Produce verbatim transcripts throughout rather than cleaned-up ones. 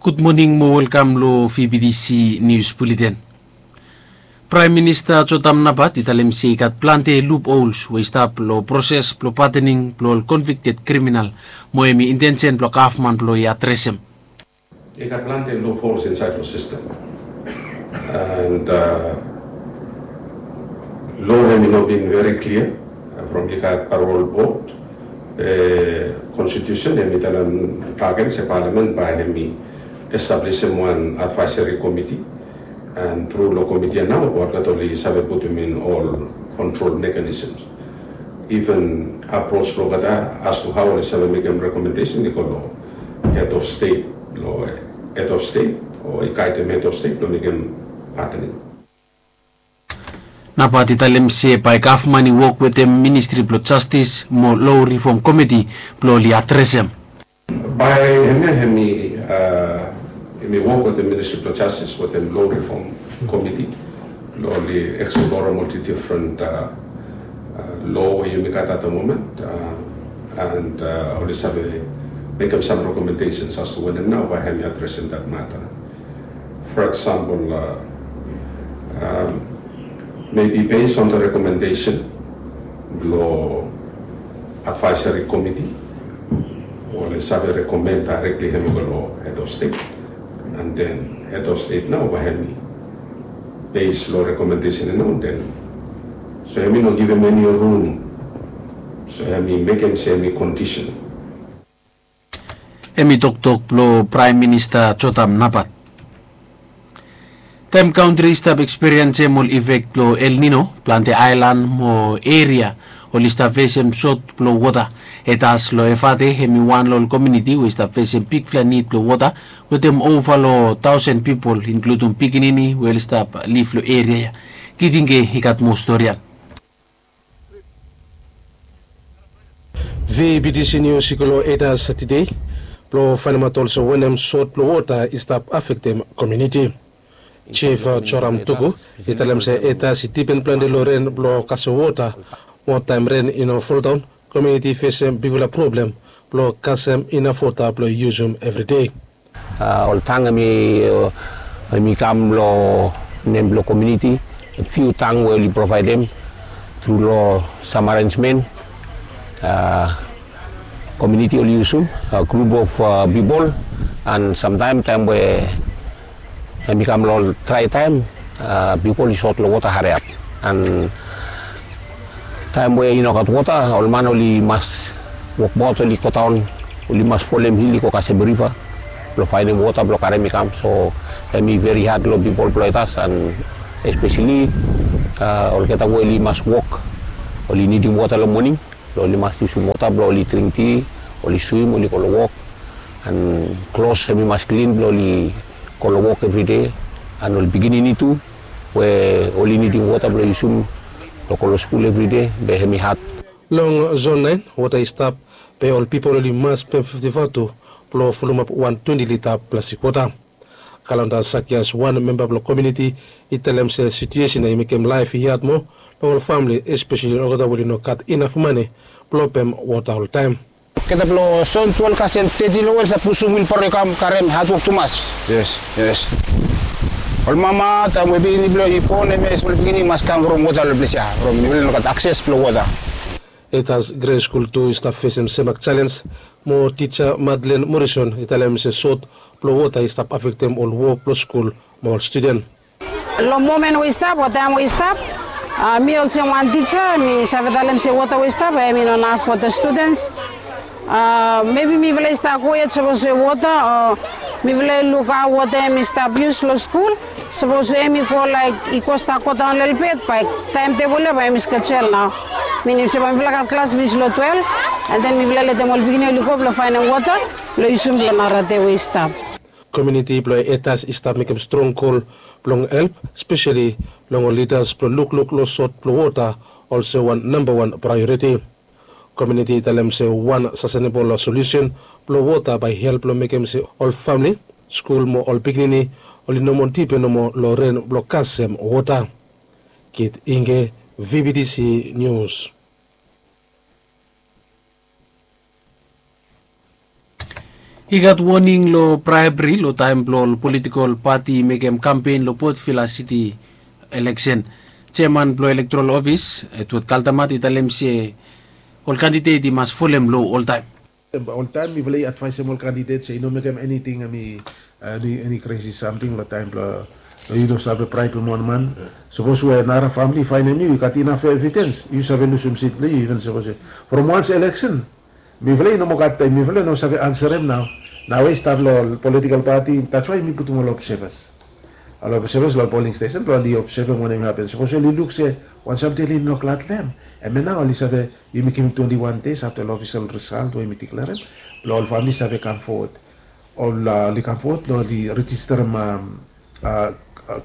Gud moning mo welkam lo V B T C Nius Buleten. Praem Minista Jotam Napat i talem se i gat plante luphols we i stap lo proses blo patening blo ol konvikted kriminal, mo hem i intensen blo gavman blo i adresem. I gat plante luphols insaed lo sistem. And lo hem i no bin veri klia from i gat parol bod, konstitusen hem i talem bagen se palamen bae hem i establisim wan advaeseri komiti. And tru lo komiti ya nao olgeta oli save putum in ol kontrol mekanisms. Iven apros blo olgeta as tu hao oli save mekem rekomendesen i go lo hed of stet, lo hed of stet o i gaedem hed of stet blo mekem patening. Napat i talem se bae gavman i wok wetem Ministri blo Jastis mo Lo Rifom Komiti blo oli adresem. Bae hemia hem i hem i wok wetem Ministri blo Jastis wetem Lo Rifom Komiti blo oli eksplorem ol difren lo we yumi gat at the moment. And oli save mekem sam rekomendesens as tu wanem nao bae hem i adresem dat mata. For example, maybe based on the recommendation blo advisory committee, oli save rekomen daerekli hem i go lo hed of stet. And then hed of stet nao bae hem i base lo rekomendesen ya nao, then so hem i no givim eni rum. So hem i mekem se hem i kondisen. Hem i toktok blo Praem Minista Jotam Napat. Taem kantri i stap ekspiriensem ol ifek blo El Nino, plante aelan mo eria oli stap fesem sot blo wota. Etas lo Efate hem i wan lo ol komuniti we i stap fesem bigfala nid blo wota, wetem ova lo taosen pipol, inkludum pikinini we oli stap liv lo eria ya. Kitinge i gat moa stori ya. V B T C Nius i go lo Etas tede blo faenemaot olsem wanem sot blo wota i stap afektem komuniti. Jif Joram Tuku i talem se Etas i dipen plante lo ren blo kasem wota. Mo taem ren i no foldaon, komuniti i fesem bigfala problem blo kasem inaf wota blo yusum evri dei. Ol tang hem i kam lo nem blo komuniti. Fiu tang we oli provaedem tru lo sam arenjmen. Komuniti oli yusum grup of pipol. And samtaem taem we hem i kam lo ol drae taem, pipol i sot lo wota hariap. And taem we i no gat wota, ol man oli mas wokbaot, oli godaon, oli mas folem hil i go kasem riva blo faenem wota blo karem i kam. So hem i veri had lo pipol blo Etas, and espeseli olgeta we oli mas wok, oli nidim wota lo moning. Oli mas yusum wota blo oli dring ti, oli swim, oli go lo wok. And klos hem i mas klin blo oli go lo wok evride. And ol pikinini tu we oli nidim wota blo yusum blo go lo skul evride, be hem i had. Long zon naen wota i stap, be ol pipol oli mas pem fifti vatu blo fulumap wan twenti lita plastik wota. Kalanda Sakias, wan memba blo komuniti, i talem se situesen ya i mekem laef i had moa long ol famle, espeseli olgeta we oli no gat inaf mane blo pem wota oltaem. Olgeta blo Jon twelef kasem teti lo we oli stap pusum wilbaro i kam karem, hadwok tumas. Yes, yes. Ol mama taem we pikinini blo i bon, hemia smol pikinini i mas kam from wota lo ples ya, from mifala i no gat akses blo wota. Etas Gre Skul tu i stap fesem semak jalenj, mo tija Madlen Morison i talem se sot blo wota i stap afektem ol wok blo skul mo ol studen. Long momen we i stap o taem we i stap, mi olsem wan tija mi save talem se wota we i stap hem i no naf fo the students. Mebi mifala i stap go yet sapos we wota o mifala i luk hao wota hem i stap yus long skul. Sapos we hem i go laek i go stap godaon lelebet, bae taemtebol ya bae hem i skejel nao. Minim se bae mifala gat klas finis long twelef, and then mifala letem ol pikinini oli go blong faenem wota blong yusum blong nara dei we i stap. Komuniti blong Etas i stap mekem strong gol blong help, speseli long ol lidas blong lukluk long sot blong wota olsem wan nambawan praeoriti. Komuniti i talem se wan sastenebol solusen blong wota bae i help long mekem se ol famle, skul mo ol pikinini oli no moa dipen nomo long ren blong kasem wota. Kit Inge, V B T C Nius. I gat woning long braebri long taem blong ol politikol pati i mekem kampen long Port Vila City eleksen. Jeaman blong elektoral ofis, Edward Kaltamat, i talem se ol kandidet i mas folem loa oltaem. Oltaem mifala i advaesem ol kandidet se i no mekem eniting, eni kresi samting long taem blong yu no save braebem wan man. Sapos we nara famili i faenem yu, yu gat inaf evidens, yu save lusum sit blong yu. Iven sapos from wans eleksen, mifala i no moa gat taem, mifala i no save ansarem nao. Nao we i stap long ol politikol pati, that's why mi putum ol obsevas. Ol obsevas long ol poling stesen blong oli obsevem wanem i hapen. Sapos oli luk se wan samting oli no glad long hem, hemia nao oli save, yumi givim twenti wan deis afta long ofisol risalt we yumi diklerem, blong ol famili save kam fowod. Ol oli kam fowod blong oli rejisterem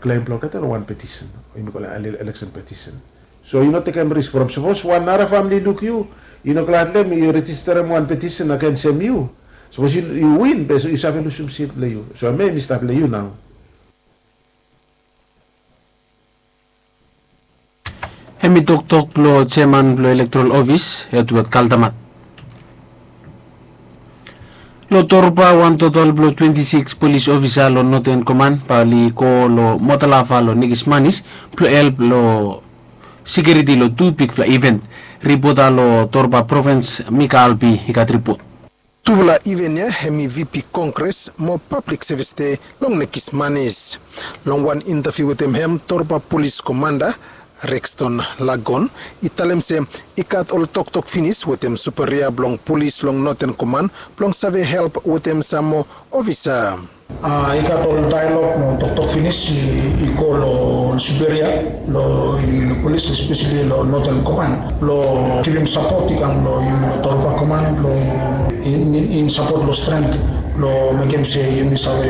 klem blong olgeta long wan petisen, yumi kolem eleksen petisen. So yu no tekem risk from sapos wan nara famili i luk yu, yu no glad long hem, i rejisterem wan petisen agensem yu. Sapos yu win be yu save lusum sit blong yu. So hemia hemi stap long yu nao. Hemi toktok blong jeaman blong elektoral ofis, Edward Kaltamat. Long Torba, wan totol blong twenti sikis polis ofisa long Noten Koman bae oli go long Motalafa long Nekismanis blong help long sekiuriti long tu bigfala iven. Ripota long Torba provins, Mika Albi, i gat ripot. Tufala iven ya hemi VP Kongres mo Pablik Sevis Dei long Nekismanis. Long wan intaviu wetem hem, Torba Polis Komanda Rexton Lagon i talem se i gat ol toktok finis wetem superia blong polis long Noten Koman blong save help wetem sam moa ofisa. I gat ol daelog mo toktok finis i go long superia blong yumi long polis, espeseli long Noten Koman, blong givim sapot i kam long yumi long Torba Koman blong in sapot long stren blong mekem se yumi save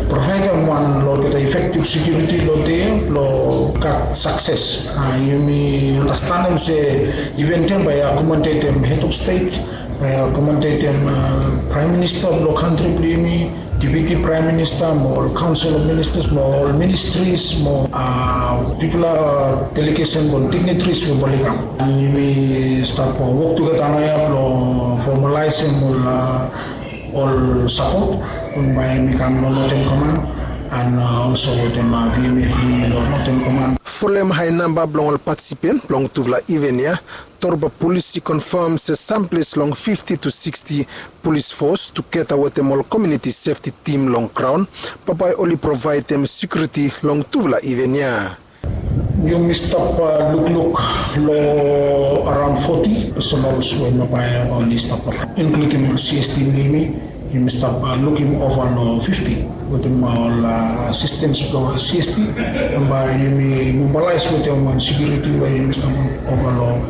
provaedem wan long olgeta efektiv sekiuriti long dei ya blong gat sakses. Yumi andastanem se iven ya bae i akomodetem hed of stet, bae i akomodetem praem minista blong kantri blong yumi, deputi praem minista mo ol kaonsel of ministas mo ol ministris mo bigfala delegesen mo dignitaries we bae oli kam. An yumi stap wok tugeta naoia blong fomalaesem ol sapot we bae hemi kam long Noten Koman an olso wetem VMF blong yumi long Noten Koman. Folem hae namba blong ol patisipen blong tufala iven ya, Torba Polis i konfam se samples long fifti tu siksti polis fos tugeta wetem ol komuniti sefti tim long graon bambae oli provaedem sekiuriti long tufala iven ya. Yumi stap lukluk long araon foti personals we bambae oli stap, inkludim ol CST blong yumi. Yumi stap lukim ova long fifti wetem ol asistens blong CST. Bambae yumi mobilaes wetem wan sekiuriti we yumi stap luk ova long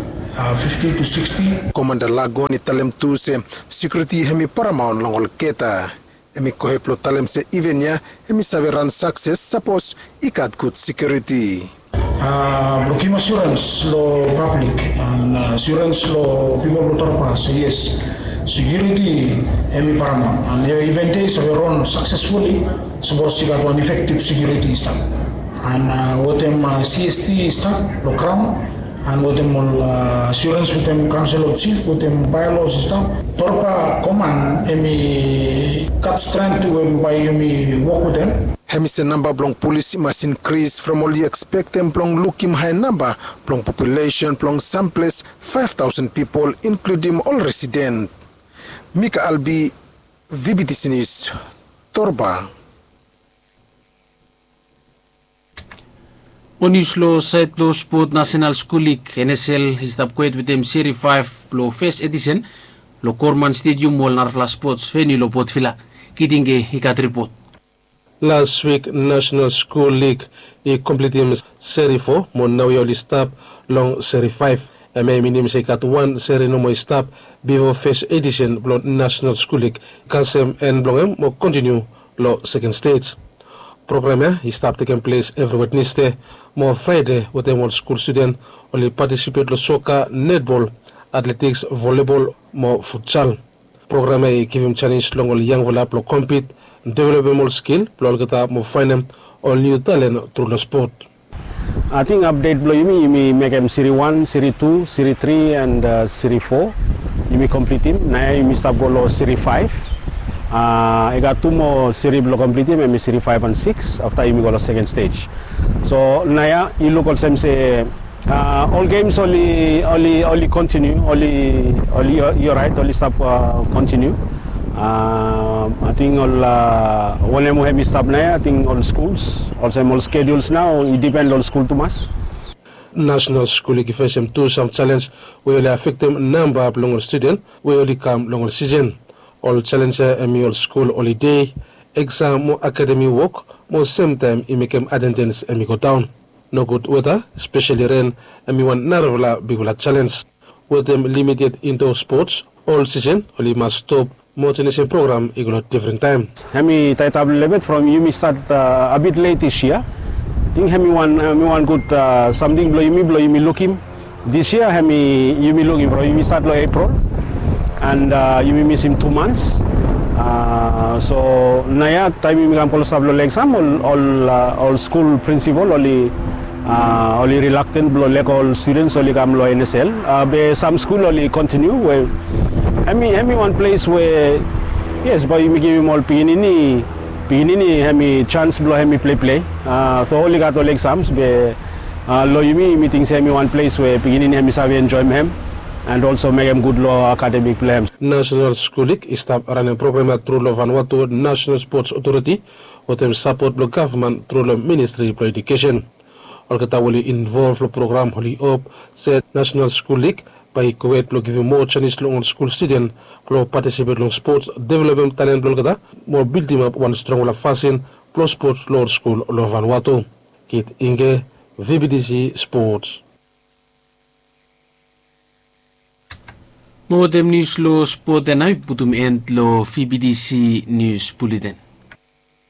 fifti tu siksti. Komanda Lagon i talem tu se sekiuriti hemi paramaon long olgeta. Hemi gohed blong talem se iven ya hemi save ran sakses sapos i gat gud sekiuriti. Blong givim asurens long pablik an asurens long pipol blong Torba se yes, sekiuriti hemi paramaon an iven ya i save ran saksesfuli sapos i gat wan efektiv sekiuriti i stap. An wetem CST i stap long graon an wetem ol asurens wetem kaonsel of jif wetem baelos i stap, Torba Koman hemi gat stren we bae yumi wok wetem. Hemi se namba blong polis i mas inkris from oli ekspektem blong lukim hae namba blong populesen blong samples faef taosen pipol, inkludim ol residen. Mika Albi, VBTC Nius, Torba. Mo nius long saed blong spot, Nasenal Skul Lig, NSL, i stap gohed wetem seri faef blong fes edisen long Gorman Stedium mo ol narafala spots veniu long Port Vila. Kitinge i gat ripot. Las wik Nasenal Skul Lig i komplitim seri fo mo naoia oli stap long seri faef. Hemia i minim se i gat wan seri nomo i stap bifo fes edisen blong Nasenal Skul Lig i kasem en blong hem mo kontiniu long seken stej. Program ya i stap tekem ples evri Wednesde mo Fraede wetem ol skul studen oli patisipet long soka, netbol, atletiks, volibol mo futsal. Program ya i givim janis long ol yangfala blong kompit, developem ol skil blong olgeta mo faenem ol niu talen tru long spot. Ating apdet blong yumi, yumi mekem seri wan, seri tu, seri tri and seri fo yumi komplitim. Naoia yumi stap go long seri faef. I gat tu moa siri blong komplitim, hemi siri faef and sikis afta yumi go long seken stej. So naoia yu luk olsem se ol gems oli kontiniu, oli orait oli stap kontiniu. Ating ol wanem we hemi stap naoia, ating ol skuls olsem ol skeduls nao i dipen long ol skul tumas. Nasonal skul lik i fesem tu sam jalenj we oli afektem namba blong ol studen we oli kam long ol sisen. Ol jalenj ya hemi ol skul olide, eksam mo akademi wok, mo semtaem i mekem atendens hemi godaon. Nogud weta, speseli ren, hemi wan narafala bigfala jalenj. Wetem limited indo spots, ol sisen oli mas stop mo jenisim program i go long difren taem. Hemi taetap lelebet from yumi stat a bit let dis yia. Ating hemi wan gud samting blong yumi blong yumi lukim. Dis yia hemi yumi lukim from yumi stat long Epril and yumi misim tu mans. So naoia taem yumi kam klosap long eksam, ol skul prinsipol oli rilakten blong lego ol studens oli kam long N S L. Be sam skul oli kontiniu we hemi wan ples we yes, bae yumi givim ol pikinini, pikinini hemi jans blong hemi pleplei. So oli gat ol eksams be long yumi, yumi ting se hemi wan ples we pikinini hemi save enjoem hem and olso mekem gud long akademik blong hem. Nasonal skul lik i stap ranem program ya tru long Vanuatu Nasonal Spots Otoriti wetem sapot blong gavman tru long Ministri blong Ejukesen. Olgeta we oli involv long program oli hop se Nasonal Skul Lik bae i kwet blong givim moa janis long ol skul studen blong patisipet long spots, developem talen blong olgeta mo bildimap wan strongfala fasin blong spots long ol skul long Vanuatu. Kit Inge, V B T C Spots. Mo wetem nius long spot ya nao i putum en long V B T C Nius Buleten.